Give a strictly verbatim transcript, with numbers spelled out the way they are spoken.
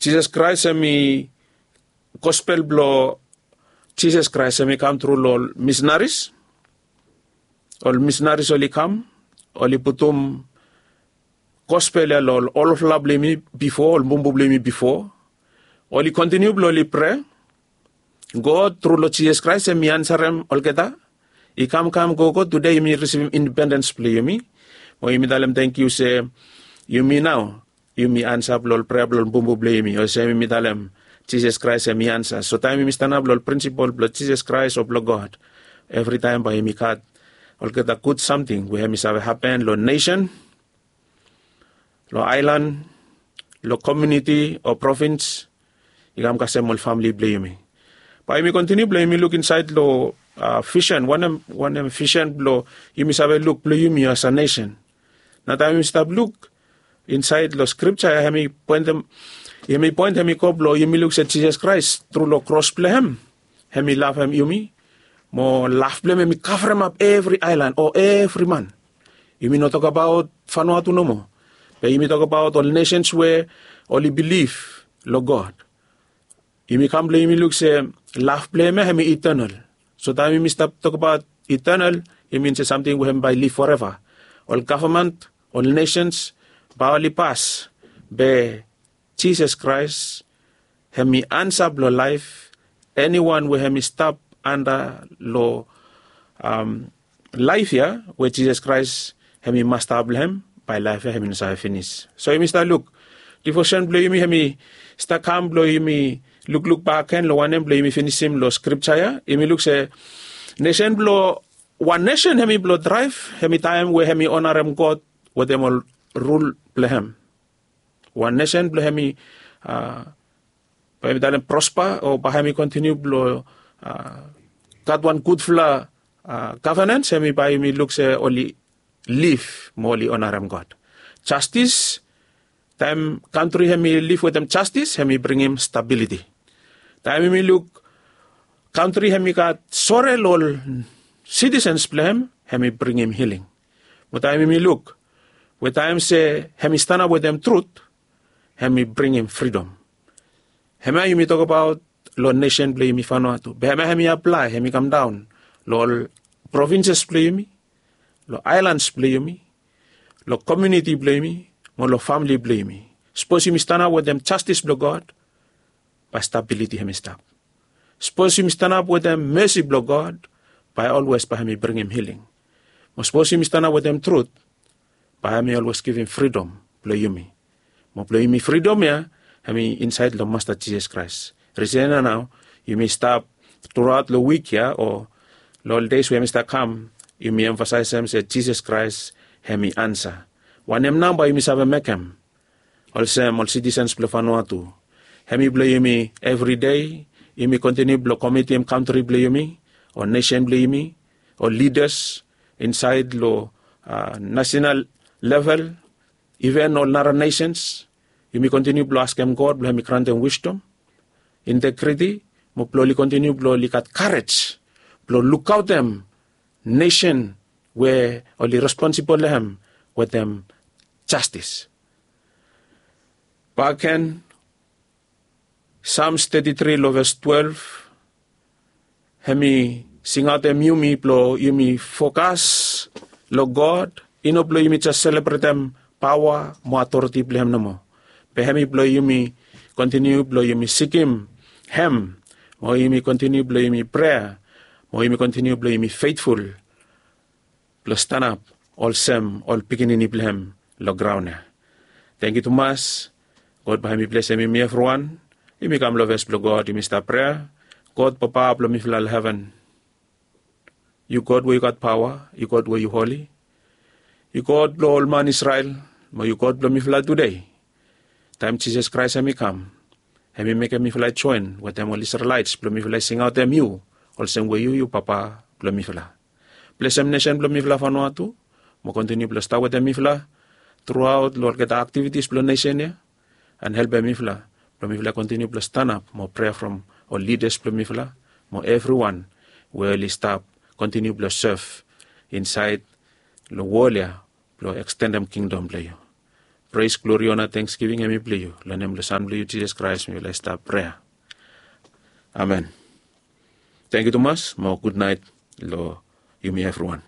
Jisas Kraes hem i gospel blong Jisas Kraes hem i kam tru long ol misinaris. Ol misinaris oli kam, oli putum gospel ya long ol olfala blong yumi bifo, ol bumbu blong yumi bifo. Oli kontiniu blong oli prea, God tru long Jisas Kraes hem i ansarem olgeta. I kamkam gogo tude yumi risivim indipendens blong yumi. Mo yumi talem tangkiu se yumi nao yumi ansa blong ol prea blong ol bumbu blong yumi, olsem yumi talem Jisas Kraes hem i ansa. So taem yumi stanap long ol prinsipol blong Jisas Kraes o blong God, evritaem bae yumi gat olgeta gud samting we hem i save hapen long nesen, long aelan, long komuniti o provins, i kam kasem ol famili blong yumi. Bae yumi kontiniu blong yumi luk insaed long visen, wanem wanem visen blong yumi save luk blong yumi as a nesen. Nao taem yumi stap luk insaed long skripta ya, hem i poentem hem i poentem i go blong yumi luk se Jisas Kraes tru long kros blong hem, hem i lavem yumi. Mo lav blong hem hem i kavremap evri aelan o evri man. Yumi no tokbaot Vanuatu nomo, be yumi tokbaot ol nesens we oli bilif long God. Yumi kam blong yumi luk se lav blong hem ya hem i itenal. So taem yumi stap tokbaot itenal, i min se samting we hem bae i liv foreva. Ol gavman, ol nesens bae oli pas, be Jisas Kraes hem i ansa blong laef. Eniwan we hem i stap anda long laef ya we Jisas Kraes hem i masta blong hem, bae laef ya hem i no save finis. So yumi stap luk, divosen blong yumi hem i stap kam blong yumi lukluk bakegen long wanem blong yumi finisim long skripta ya. Yumi luk se nesen blong wan nesen hem i blong draev hem i taem we hem i onarem God wetem ol rul blong hem. Wan nesen blong hem i bae yumi talem prospa o bae hem i kontiniu blong gat wan gudfala gavenans, hem i bae yumi luk se oli liv mo oli onarem God. Jastis, taem kantri hem i liv wetem jastis hem i bringim stabiliti. Taem yumi luk kantri hem i gat sore long ol sitisens blong hem, hem i bringim hiling. Mo taem yumi luk we taem se hem i stanap wetem trut, hem i bringim fridom. Hemia yumi tokbaot long nesen blong yumi Vanuatu, be hemia hem i aplae, hem i kamdaon long ol provinses blong yumi, long aelans blong yumi, long komiuniti blong yumi, mo long famili blong yumi. Sapos yumi stanap wetem jastis blong God, bae stabiliti hem i stap. Sapos yumi stanap wetem mesi blong God, bae olwes bae hem i bringim hiling. Mo sapos yumi stanap wetem trut, bae hem i olwes givim fridom blong yumi. Mo blong yumi fridom ya hem i insaed long Masta Jisas Kraes. Risen ya nao yumi stap truaot long wik ya o long ol deis we hem i stap kam, yumi emfasaesem se Jisas Kraes hem i ansa. Wanem nao bae yumi save mekem olsem ol sitisens blong Vanuatu? Hem i blong yumi evride. Yumi kontiniu blong komitim kantri blong yumi, ol nesen blong yumi, ol lidas insaed long nasenal level, iven ol nara nesens. Yumi kontiniu blong askem God blong hem i grantem wisdom, integriti, mo blong oli kontiniu blong oli gat karej blong lukaotem nesen we oli responsibol long hem wetem jastis. Bakegen, Sams teti tri long ves twelef, hem i singaotem yumi blong yumi fokas long God, i no blong yumi jes selebretem paoa mo atoriti blong hem nomo, be hem i blong yumi kontiniu blong yumi sikim hem, mo yumi kontiniu blong yumi prea, mo yumi kontiniu blong yumi fetful blong stanap olsem ol pikinini blong hem long graon ya. Tangkiu tumas. God bae hem i blesem yumi evriwan. Yumi kam long fes blong God, yumi stap prea. God Papa blong mifala long heven, yu God we yu gat paoa, yu God we yu holi, yu God blong ol man Isrel, mo yu God blong mifala tude. Taem Jisas Kraes hem i kam, hem i mekem mifala i joen wetem ol Isrelaet blong mifala i singaotem yu olsem we yu yu Papa blong mifala. Blesem nesen blong mifala Vanuatu, mo kontiniu blong stap wetem mifala truaot long olgeta aktivitis blong nesen ya, and helpem mifala blong mifala kontiniu blong stanap mo prea from ol lidas blong mifala mo evriwan we oli stap kontiniu blong sev insaed long wol ya blong ekstendem kingdom blong yu. Pres, glori, ona, tengsgiving em i blong yu. Long nem blong San blong yu Jisas Kraes mifala i stap prea. Amen. Tangkiu tumas mo gudnaet long yumi evriwan.